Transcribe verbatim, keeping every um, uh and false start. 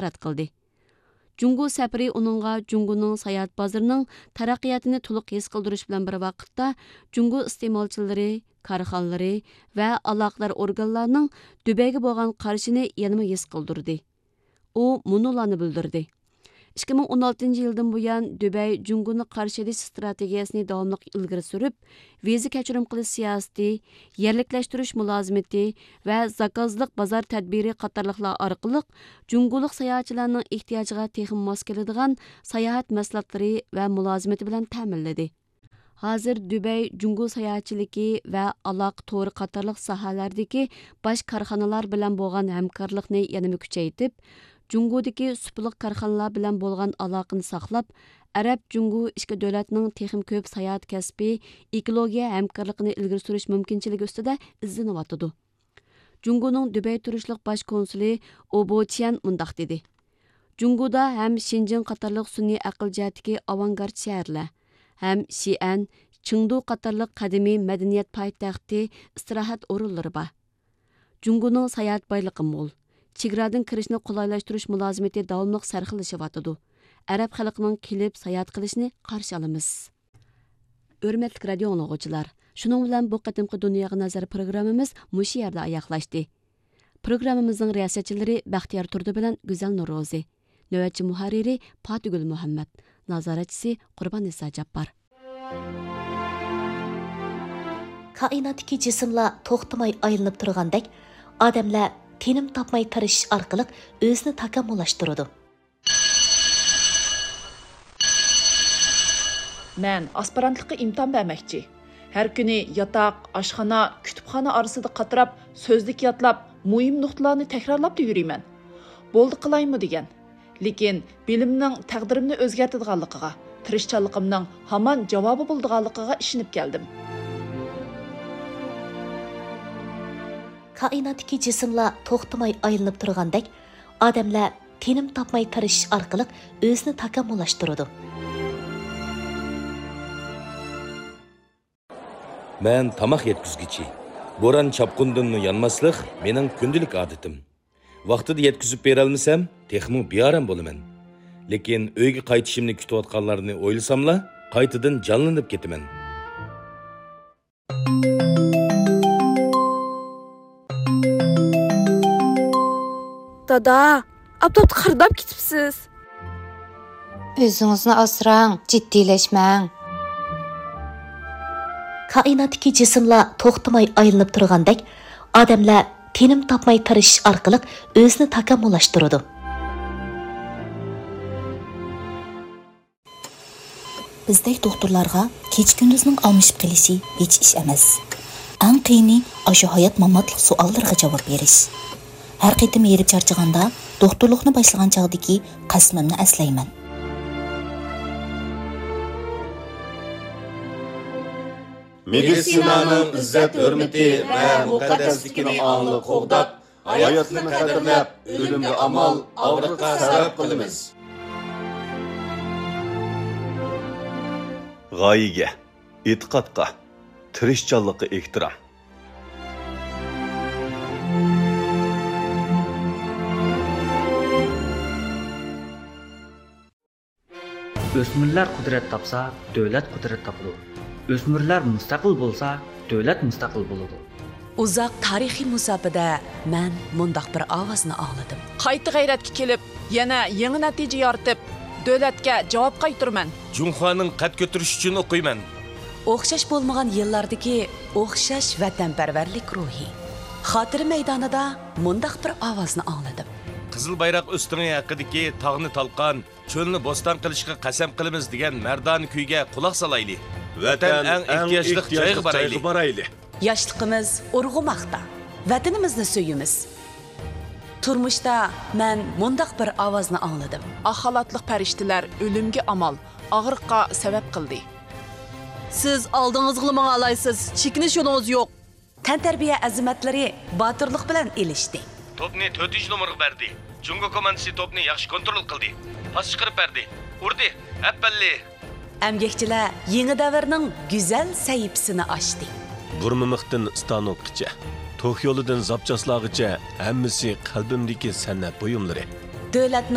رەت قىلدى. جۇڭگو سەپىرى ئۇنىڭغا جۇڭگونىڭ ساياھەت بازىرىنىڭ تەرەققىياتىنى تولۇق ھېس قىلدۇرۇش بىلەن بىر ۋاقىتتا، جۇڭگو ئىستېمالچىلىرى، كارخانىلىرى ۋە ئالاقىدار ئورگانلارنىڭ دۇبەيگە بولغان قارىشىنى يەنىمۇ ھېس قىلدۇردى. ئۇ مۇنۇلارنى بىلدۈردى: ئىككى مىڭ ئون ئالتىنچى يىلدىن بۇيان، دۇبەي جۇڭگونى قارشى ئېلىش ئىستراتېگىيەسىنى داۋاملىق ئىلگىرى سۈرۈپ، ۋىزا كەچۈرۈم قىلىش سىياسىتى، يەرلىكلەشتۈرۈش مۇلازىمىتى ۋە زاكازلىق بازار تەدبىرى قاتارلىقلار ئارقىلىق جۇڭگولۇق ساياھەتچىلەرنىڭ ئېھتىياجىغا تېخىمۇ ماس كېلىدىغان ساياھەت مەھسۇلاتلىرى ۋە مۇلازىمىتى بىلەن تەمىنلىدى. ھازىر دۇبەي جۇڭگو ساياھەتچىلىكى ۋە ئالاقە تورى قاتارلىق ساھەلەردىكى باش كارخانىلار بىلەن بولغان ھەمكارلىقنى يەنىمۇ كۈچەيتىپ، جۇڭگودىكى سۇپىلىق كارخانىلار بىلەن بولغان ئالاقىنى ساقلاپ، ئەرەب جۇڭگو ئىككى دۆلەتنىڭ تېخىمۇ كۆپ ساياھەت كەسپى، ئېكولوگىيە ھەمكارلىقىنى ئىلگىرى سۈرۈش مۇمكىنچىلىكى ئۈستىدە ئىزدىنىۋاتىدۇ. جۇڭگونىڭ دۇبەي تۇرۇشلۇق باش كونسۇلى ئوبو چيەن مۇنداق دېدى: جۇڭگودا ھەم شېنجېن قاتارلىق سۈنئىي ئەقىل جەھەتتىكى ئاۋانگارت شەھەرلەر، ھەم شىئەن، چېڭدۇ قاتارلىق قەدىمىي مەدەنىيەت پايتەختى، ئىستىراھەت ئورۇنلىرى بار. جۇڭگونىڭ ساياھەت بايلىقى مول. چېگرادىن كىرىشنى قولايلاشتۇرۇش مۇلازىمىتى داۋاملىق سەرخىللىشىۋاتىدۇ. ئەرەب خەلقىنىڭ كېلىپ ساياھەت قىلىشىنى قارشى ئالىمىز. ھۆرمەتلىك رادىيو ئاڭلىغۇچىلار، شۇنىڭ بىلەن بۇ قېتىمقى دۇنياغا نەزەر پروگراممىمىز مۇشۇ يەردە ئاياغلاشتى. پروگراممىمىزنىڭ رىياسەتچىلىرى بەختىيار تۇردى بىلەن گۈزەل نورۇزى. نۆۋەتچى مۇھەررىرى پاتىگۈل مۇھەممەت. نازارەتچىسى قۇرباننىسا جاپپار. كائىناتتىكى جىسىملار توختىماي ئايلىنىپ تۇرغاندەك، ئادەملەر تىنىم تاپماي تىرىشىش ئارقىلىق ئۆزىنى تاكامۇللاشتۇرىدۇ. مەن ئاسپىرانتلىققا ئىمتىھان بەرمەكچى. ھەر كۈنى ياتاق، ئاشخانا، كۇتۇپخانا ئارىسىدا قاتراپ، سۆزلۈك يادلاپ، مۇھىم نۇقتىلارنى تەكرارلاپلا يۈرىمەن. بولدى قىلايمۇ دېگەن. لېكىن بىلىمنىڭ تەقدىرىمنى ئۆزگەرتىدىغانلىقىغا، تىرىشچانلىقىمنىڭ ھامان جاۋابى بولىدىغانلىقىغا ئىشىنىپ كەلدىم. كائىناتتىكى جىسىملار توختىماي ئايلىنىپ تۇرغاندەك، ئادەملەر تىنىم تاپماي تىرىشىش ئارقىلىق ئۆزىنى تاكامۇللاشتۇرىدۇ. مەن تاماق يەتكۈزگۈچى. بوران-چاپقۇندىنمۇ يانماسلىق مېنىڭ كۈندىلىك ئادىتىم. ۋاقتىدا يەتكۈزۈپ بېرەلمىسەم، تېخىمۇ بىئارام بولىمەن. لېكىن ئۆيگە قايتىشىمنى كۈتۈۋاتقانلارنى ئويلىساملا، قايتىدىن جانلىنىپ كېتىمەن. دادا، ئاپتاپتا قىرداپ كېتىپسىز. ئۆزىڭىزنى ئاسراڭ، جىددىيلەشمەڭ. كائىناتتىكى جىسىملار توختىماي ئايلىنىپ تۇرغاندەك، ئادەملەر تىنىم تاپماي تىرىشىش ئارقىلىق ئۆزىنى تاكامۇللاشتۇرىدۇ. بىزدەك دوختۇرلارغا كېچە-كۈندۈزنىڭ ئالمىشىپ قېلىشى ھېچ ئىش ئەمەس. ئەڭ قىيىنى ئاشۇ ھايات-ماماتلىق سوئاللىرىغا جاۋاب بېرىش. ھەر قېتىم ھېرىپ چارچىغاندا، دوختۇرلۇقنى باشلىغان چاغدىكى قەسىمىمنى ئەسلەيمەن. مېدىتسىنانىڭ ئىززەت-ھۆرمىتى ۋە مۇقەددەسلىكىنى ئاڭلىق قوغداپ، ھاياتنى قەدىرلەپ، ئۆلۈمگە ئامال، ئاغرىققا سەۋەب قىلىمىز. غايىگە، ئېتىقادقا، تىرىشچانلىققا ئېھتىرام. ئۆسمۈرلەر قۇدرەت تاپسا، دۆلەت قۇدرەت تاپىدۇ. ئۆسمۈرلەر مۇستەقىل بولسا، دۆلەت مۇستەقىل بولىدۇ. ئۇزاق تارىخىي مۇساپىدە مەن مۇنداق بىر ئاۋازنى ئاڭلىدىم. قايتا غەيرەتكە كېلىپ، يەنە يېڭى نەتىجە يارىتىپ، دۆلەتكە جاۋاب قايتۇرىمەن. جۇڭخۇانىڭ قەد كۆتۈرۈشى ئۈچۈن ئوقۇيمەن. ئوخشاش بولمىغان يىللاردىكى ئوخشاش ۋەتەنپەرۋەرلىك روھى. خاتىرە مەيدانىدا مۇنداق بىر ئاۋازنى ئاڭلىدىم. قىزىل بايراق ئۆستىڭى ھەققىدىكى تاغنى تالقان، چۆلنى بوستان قىلىشقا قەسەم قىلىمىز دېگەن مەردانە كۈيگە قۇلاق سالايلى. ۋەتەن ئەڭ ئېھتىياجلىق جايغا بارايلى. ياشلىقىمىز ئۇرغۇماقتا. ۋەتىنىمىزنى سۆيىمىز. تۇرمۇشتا مەن مۇنداق بىر ئاۋازنى ئاڭلىدىم. ئاق خالاتلىق پەرىشتىلەر ئۆلۈمگە ئامال، ئاغرىققا سەۋەب قىلدى. سىز ئالدىڭىزغىلا ماڭالايسىز، چېكىنىش يولىڭىز يوق. تەنتەربىيە ئەزىمەتلىرى باتۇرلۇق بىلەن ئېلىشتى. توپنى تۆتىنچى نومۇرغا بەردى. جۇڭگو كوماندىسى توپنى ياخشى كونترول قىلدى. پاس چىقىرىپ بەردى. ئۇردى. ئەپەللى! ئەمگەكچىلەر يېڭى دەۋرنىڭ گۈزەل سەھىپىسىنى ئاچتى. بۇرمىمىختىن ستانوكقىچە، توك يولىدىن زاپچاسلارغىچە ھەممىسى قەلبىمدىكى سەنئەت بۇيۇملىرى. دۆلەتنىڭ